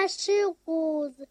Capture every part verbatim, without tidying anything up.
Xikuzu.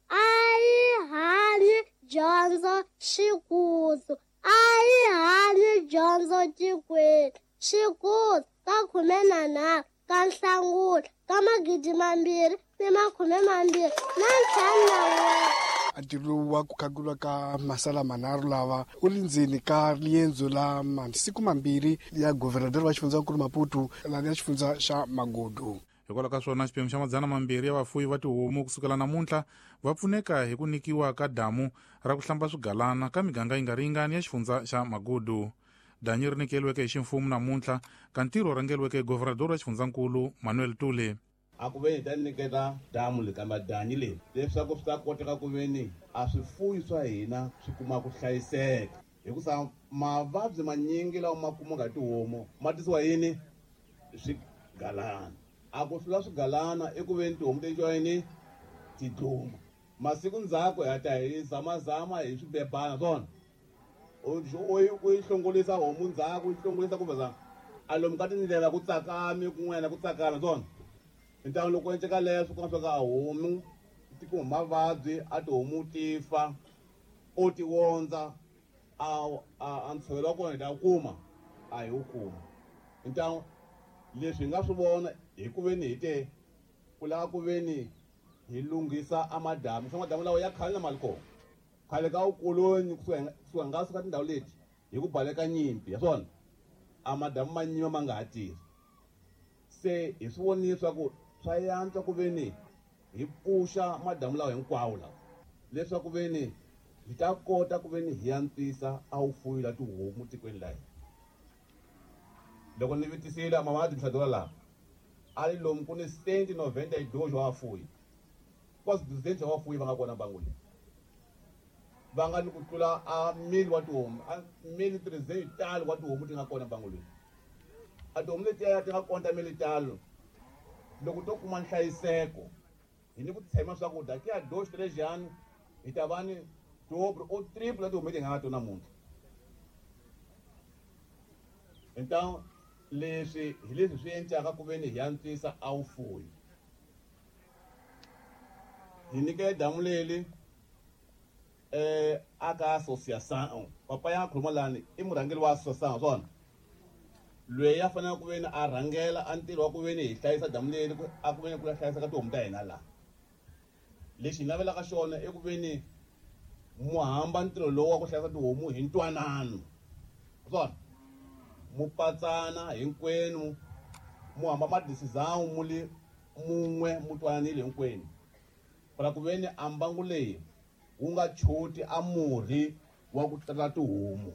A yi hanyi dyondzo Xikuzu. A yi hanyi dyondzo tikweni. Xikuzu ka khume na nharhu ka Nhlangula ka magidi mambirhi ni makhume mambirhi na ntlhanu na n'we. Ntirho wa ku khagulwa ka masala manharhu lava u le ndzeni ka riendzo la masiku mambirhi ya governador wa xifundzankulu Maputo la ya xifundza xa Magudu. Hikwalaho ka swona xiphemu xa madzana mambirhi ya vafuwi va tihomu kusukela namuntlha va pfuneka hi ku nyikiwa ka damu ra ku hlamba swigalana ka miganga yi nga ringani ya xifundza xa Magudu. Danyi ri nyikeriweke hi ximfumo namuntlha ka ntirho rhangeriweke hi governador wa xifundzankulu Manuel Tule. A ku veni ta nyiketa damu leyi kambe danyi leyi leswaku swi ta koteka ku veni a swifuyi swa hina swi kuma ku hlayiseka hikusa mavabyi manyingi lawa ma kumaka hi tihomu ma tisiwa yini swigalana. A ku hlula swigalana i ku veni tihomu ti yini ti dluma masiku ndzhaku hi ta hi zamazama hi swibebana swona u u yi hlongolisa homu ndzhaku u yi hlongolisa kumbe za a lomu ka tindlela ku tsakami kun'wana ku tsakama swona. Ntangu loko endleka leswo ku nga swa ka homu ti kuma mavabyi a tihomu ti fa o ti wondza a a ntshovelo wa kona hi ta kuma a hi wu kuma. Ntangu leswi hi nga swi vona hi ku veni hi te ku lava ku veni hi lunghisa a madamu swa madamu lawa ya khale na mali kona khale ka vukoloni kusuka nga suka tindhawu leti hi ku baleka nyimpi ya swona a madamu ma nyima ma nga ha tirhi. Se hi swi vonile swa ku swa yantswa ku veni hi pfuxa madamu lawa hinkwawo lawa leswaku veni hi ta kota ku veni hi antswisa a wu fuyi la tihomu tikweni la hina. Loko ni vitisile mama administradora laha a ri lomu ku ni cento noventa e dois wa vafuyi quase duzentos wa vafuyi va nga kona bangu leyi va nga ni ku tlula a mil wa tihomu a mil trezentos talo wa tihomu ti nga kona bangu leyi. A tihomu letiya ti nga kona ta mil talo loko to kuma nhlayiseko hi ni ku tshemba swakudya ki ya dois três anos hi ta va ni dobro ou triplo la tihomu leti hi nga na tona namuntlha. Então leswi hi leswi swi endlaka ku veni hi antswisa a wu fuyi. Hi nyike damu leli eh aka associação papa ya khuluma lani i murhangeri wa associação swona loyi a fanele ku veni a rhangela a ntirho wa ku veni hi hlayisa damu leri a ku veni ku hlayisa ka tihomu ta hina laha. Lexi hi navelaka xona i ku veni mu hamba ntirho lowu wa ku hlayisa tihomu hi ntwanano swona mu patsana hinkwenu mu hamba madecision mu li mun'we mu twananile hinkwenu para ku veni a mbangu leyi wu nga choti a murhi wa ku tata tihomu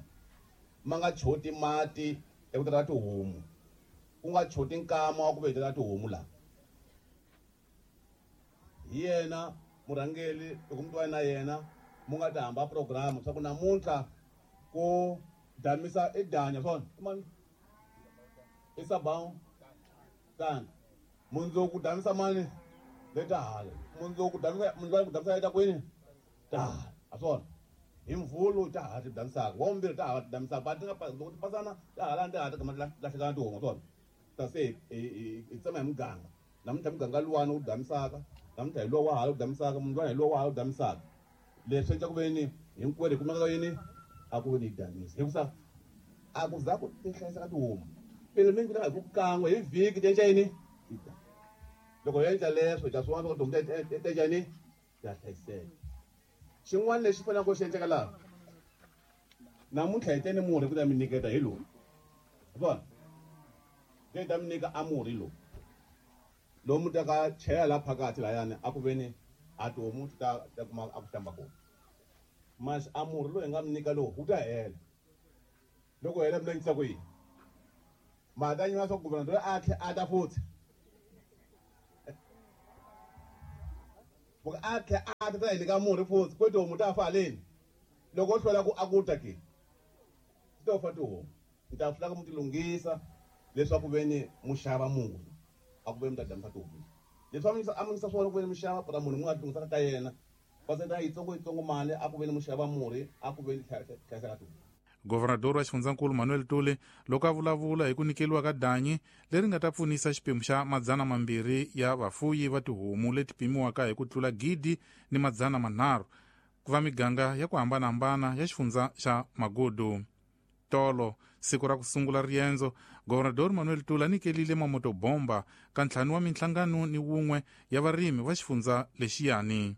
ma nga choti mati ya ku tata tihomu ku nga choti nkama wa ku vetela tihomu laha. Hi yena murhangeri loko mu twana na yena mu nga ta hamba program swa ku namuntlha ku damisa i danya swona i mani i sabao tani mundzuku damisa mani leta hala mundzuku damisa mundzuku damisa ta kwini ta hala a swona hi mvulu ta hala ti damisaka wa vumbirhi ta hala ti damisaka va ti nga loko ti pasana ta hala ti hala ti lahlekana tihomu swona ta se hi hi tsema hi muganga namuntlha muganga luwani wu damisaka namuntlha hi lowa wa hala wu damisaka mundlwana hi lowa wa hala wu damisaka leswi endla ku veni hinkwerhu hi kumeka yini a ku veni hi damisa hikusa a ku za ku ti hlayisa ka tihomu pele mi hi ku kan'we hi vhiki ti endla yini loko hi endla leswo hi ta swi vona swa ku tihomu ti endla yini ta hlayiseka. Xin'wana lexi faneleke ku xi endleka laha namuntlha hi teni murhi ku ta mi nyiketa hi lowu vona hi ta mi nyika a murhi lowu lowu mu ta ka chela laha phakathi lahayani a ku veni a tihomu ti ta ta kuma a ku hlamba kona mas a murhi lowu hi nga mi nyika lowu wu ta hela loko hela mi langutisa ku yini ma ta nyima swa ku governador a tlhe a ta futhi loko a tlhe a ta ta hi nyika murhi futhi ku tihomu ta fa haleni loko o hlwela ku a ku ta ke ti ta fa tihomu ni ta hlula ku mu ti lunghisa leswaku veni mu xava murhi a ku veni mu ta damisa tihomu leswi a mi a mi yisa swona ku veni mu xava para munhu mu nga lunghisaka ka yena va senda yitsongo yitsongo mali a ku veni mu xava murhi a ku veni hlayiseka tihomu. Governador wa xifundzankulu Manuel Tule loko a vulavula hi ku nyikeliwa ka danyi leri nga ta pfunisa xiphemu xa madzana mambirhi ya vafuyi va tihomu leti pimiwaka hi ku tlula gidi ni madzana manharhu ku va miganga ya ku hambanahambana ya xifundza xa Magudu. Tolo siku ra ku sungula riendzo, Governador Manuel Tule a nyikelile mamotobomba ka ntlhanu wa minhlangano ni wun'we ya varimi va xifundza lexiyani.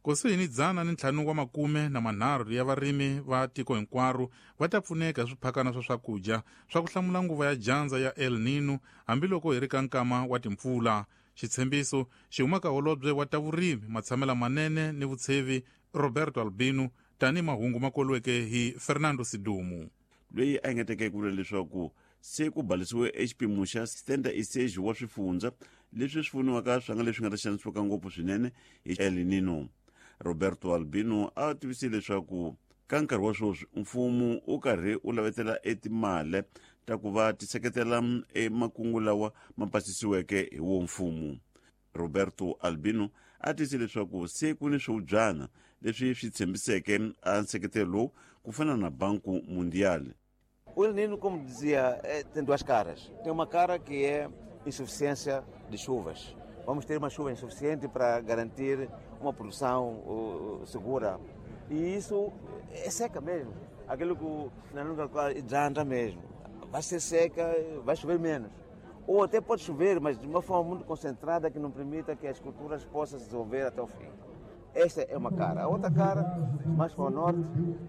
Kusuhi ni dzana ni ntlhanu wa makume na manharhu ya varimi va tiko hinkwaro va ta pfuneka hi swiphakana swa swakudya swa ku hlamula nguva ya dyandza ya El Nino hambiloko hi ri ka nkama wa timpfula. Xitshembiso xi huma ka holobye wa ta vurimi, matshamela manene ni vutshevi Roberto Albino, tanihi mahungu ma koliweke hi Fernando Sidumu. Loyi a engeteke ku vula leswaku se ku balisiwe exipimo xa setenta e seis wa swifundza leswi swi pfuniwaka swa nga leswi nga ta xanisiwaka ngopfu swinene hi El Nino. Roberto Albino a tivisile leswaku ka nkarhi wa sweswi mfumo wu karhi wu lavetela etimali ta ku va ti seketela emakungu lawa ma pasisiweke hi wo mfumo. Roberto Albino a tivisile leswaku se ku ni swivubyana leswi swi tshembiseke a nseketelo lowu ku fana na Banco Mundial. O El Nino, como dizia, tem duas caras. Tem uma cara que é insuficiência de chuvas. Vamos ter uma chuva insuficiente para garantir uma produção uh, segura. E isso é seca mesmo. Aquilo que na língua hidranta mesmo. Vai ser seca, vai chover menos. Ou até pode chover, mas de uma forma muito concentrada que não permita que as culturas possam se desenvolver até o fim. Esta é uma cara. A outra cara, mais para o norte,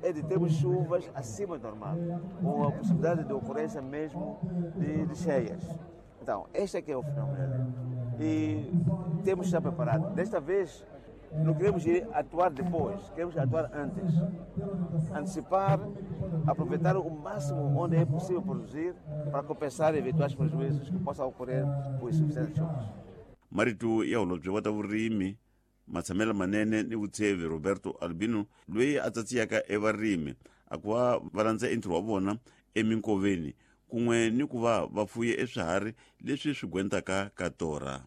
é de termos chuvas acima do normal, com a possibilidade de ocorrência mesmo de, de cheias. Então, este é que é o fenômeno. E temos que estar preparados. Desta vez, não queremos ir atuar depois, queremos atuar antes. Antecipar, aproveitar o máximo onde é possível produzir para compensar eventuais prejuízos que possam ocorrer por insuficiência de chuvas. Marito ya holobye wa ta vurimi, matshamela manene ni vutshevi Roberto Albino, loyi a tsatsiyaka evarimi a ku va va landza entirho wa vona eminkoveni kun'we ni ku va va fuye eswiharhi leswi swi gwentaka ka torha.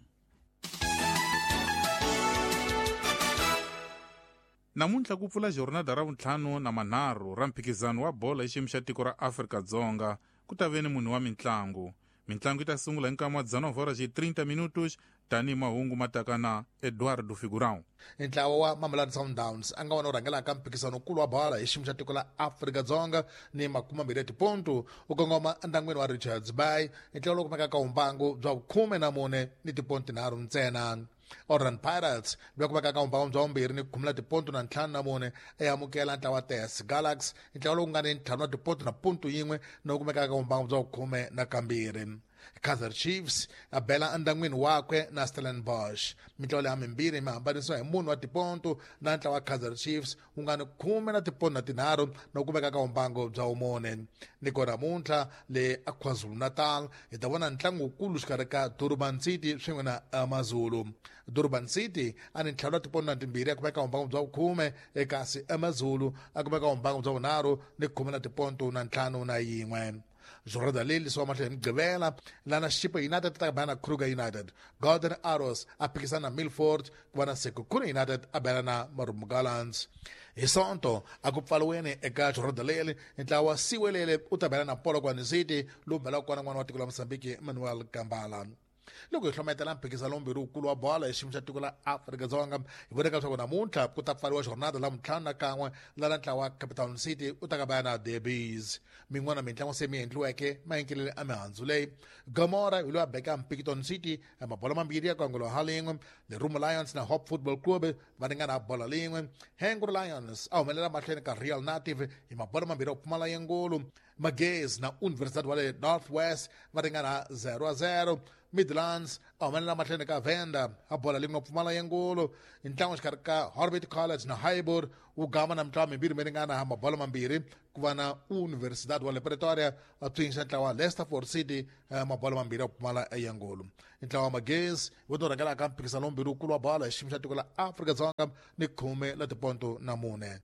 Namuntlha ku pfula jornada ra vuntlhanu na manharhu ra mphikizano wa bolo hi xiyimo xa tiko ra Afrika-Dzonga ku ta ve ni munhu wa mintlangu. Mintlangu yi ta sungula hi nkama wa dezenove horas e trinta minutos tanihi mahungu ma taka na Eduardo Figurão. Ntlawa wa Mamelodi Sundowns a nga wona wu rhangelaka mphikizano-nkulu wa bolo hi xiyimo xa tiko la Afrika-Dzonga ni makume mambirhi ya tipontu wu kongoma endyangwini wa Richards Bay, ntlawa lowu kumekaka vumbangu bya vukhume na mune ni tipontu tinharhu ntsena. Orlando Pirates loyi kumekaka vumbangu bya vumbirhi ni khumula tipontu na ntlhanu na mune eamukela ntlawa wa T S Galaxy, ntlawa lowu nga ni ntlhanu wa tipontu na pontu yin'we na wu kumekaka vumbangu bya vukhume na kambirhi. Kaizer Chiefs a bela endyangwini wakwe na Stellenbosch. Mintlawa leyi mimbirhi mi hambanisiwa hi munhu wa tipontu na ntlawa wa Kaizer Chiefs wu nga ni khume na tipontu na tinharhu na ku kumeka ka vumbangu bya vumune. Ni ko namuntlha le KwaZulu-Natal hi ta vona ntlangu wukulu xikarhi ka Durban City swin'we na AmaZulu. Durban City a ni ntlhanu wa tipontu na timbirhi a kumeka vumbangu bya vukhume, kasi AmaZulu a kumeka vumbangu bya vunharhu ni khume na tipontu na ntlhanu na yin'we. Jornada leyi lisiwa mahlweni hi Mugqivela lana Chippa United ta bana na Kruger United, Golden Arrows a phikisana na Milford, ku va na Sekhukhune United a bela na Marumo Gallants. Hi Sonto a ku pfaliweni eka jornada leri ntlawa wa Siwelele u ta bela na Polokwane City lowu belaka kona n'wana wa tiko la Mozambique Manuel Gambala. Loko hi hlometela mphikizano lombirhi wukulu wa bolo hi xiyimo xa tiko la Afrika-Dzonga, hi voneka leswaku namuntlha ku ta pfariwa jornada la ntlhanu na kan'we lana ntlawa wa Cape Town City u ta ka va na Derbies. Min'wana mintlangu se mi endliweke maenkelele a mihandzu leyi. Gomora hi loyi a beka Mpikton City ya mabolo mambirhi ya kongolo ha lin'we, Lerumo Lions na Hope Football Club va ringana bola lin'we. Hengro Lions a humelela mahlweni ka Real Native hi mabolo mambirhi ya ku pfumala yengulu. Magezi na Universidade wa le North West va ringana zero a zero. Midlands a humelela mahlweni ka Venda a bola lin'we pfumala yengulu. Ntlangu xikarhi ka Orbit College na Highbury wu gama na mitlawa mimbirhi mi ringana mabolo mambirhi, ku va na Universidade wa le Pretoria a pfinxa ntlawa wa Leicesterford City mabolo mambirhi ya ku pfumala eyengulu. Ntlawa wa Magezi wu to rhangelaka mphikizano lombirhi wukulu wa bolo hi xiyimo xa tiko la Afrika-Dzonga ni khume la tiponto na mune.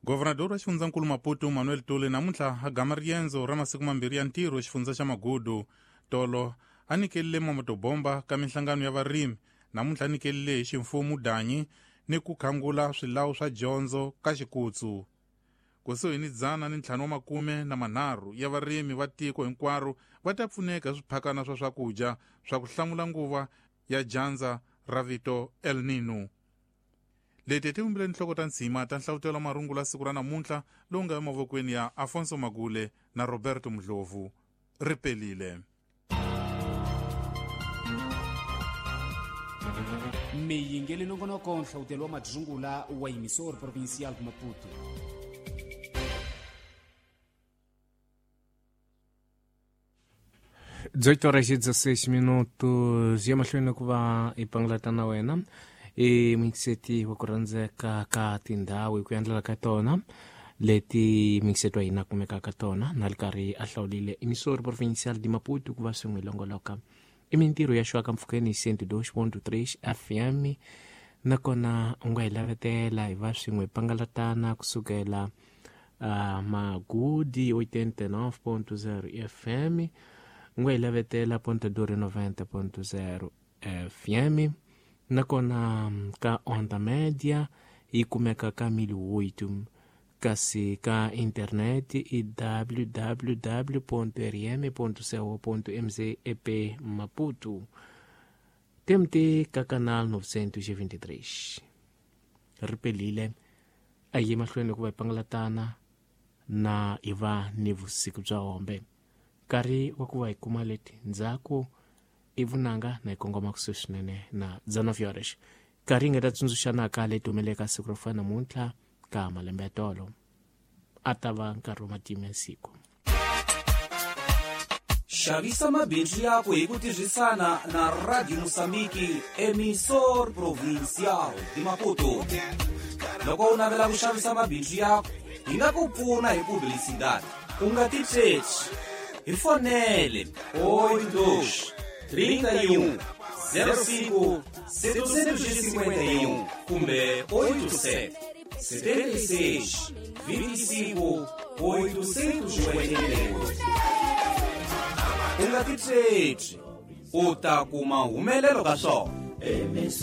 Governador wa xifundzankulu Maputo Manuel Tule namuntlha a gama riendzo ra masiku mambirhi ya ntirho xifundza xa Magudu. Tolo a nyikelile mamotobomba ka minhlangano ya varimi namuntlha a nyikelile hi ximfumo danyi ni ku khangula swilawu swa dyondzo ka xikutsu. Kusuhi ni dzana ni ntlhanu wa makume na manharhu ya varimi va tiko hinkwaro va ta pfuneka hi swiphakana swa swakudya swa ku hlamula nguva ya dyandza ra vito El Nino. Leti ti vumbile tinhloko ta ntshima ta nhlavutelo wa marungula siku ra namuntlha lowu nga emavokweni ya Afonso Magule na Roberto Mdlovu. Ri pelile. Miyingeli nongonoko nhlawutelo wa madzungula wa Emissor Provincial de Maputo. dezoito horas e dezesseis minutos ya mahlweni ku va hi pangalata na wena i mixeti wa ku rhandzeka ka tindhawu hi ku endlela ka tona leti mixeti wa hina kumekaka ka tona na ri karhi a hlawulile Emissor Provincial de Maputo ku va swin'we longoloka i mintirho ya xwaka mpfhukeni cento e dois ponto três F M nakona u nga hi lavetela hi va swin'we pangalatana kusukela uh, Magudi oitenta e nove ponto zero F M u nga hi lavetela Ponta Dura noventa ponto zero F M nakona ka Onda Média yi kumeka ka mil oito kasi ka internet i w w w ponto r m ponto co ponto m z e p Maputo T M T ka canal novecentos e vinte e três. Ri pelile a yi mahlweni ku va hi pangalatana na hi va ni vusiku bya hombe nkarhi wa ku va hi kuma leti ndzhaku i vunanga na hi kongoma kusuhi swinene na dezenove horas nkarhi hi nga ta tsundzuxanaka leti humeleka siku ro fana namuntlha ka malembe ya tolo a ta va nkarhi wa matimu ya siku. Xavisa mabindzu yako hi ku tirhisana na Radio Moçambique, Emissor Provincial de Maputo. Loko u navela ku xavisa mabindzu yako, hi nga ku pfuna hi publicidade. U nga titsheci. Hi fonele oito dois, trinta e um, zero cinco, setecentos e cinquenta e um kumbe oito sete, setenta e seis, vinte e cinco, oitocentos e oitenta e oito. U nga titsheci, u ta kuma humelelo ka swona.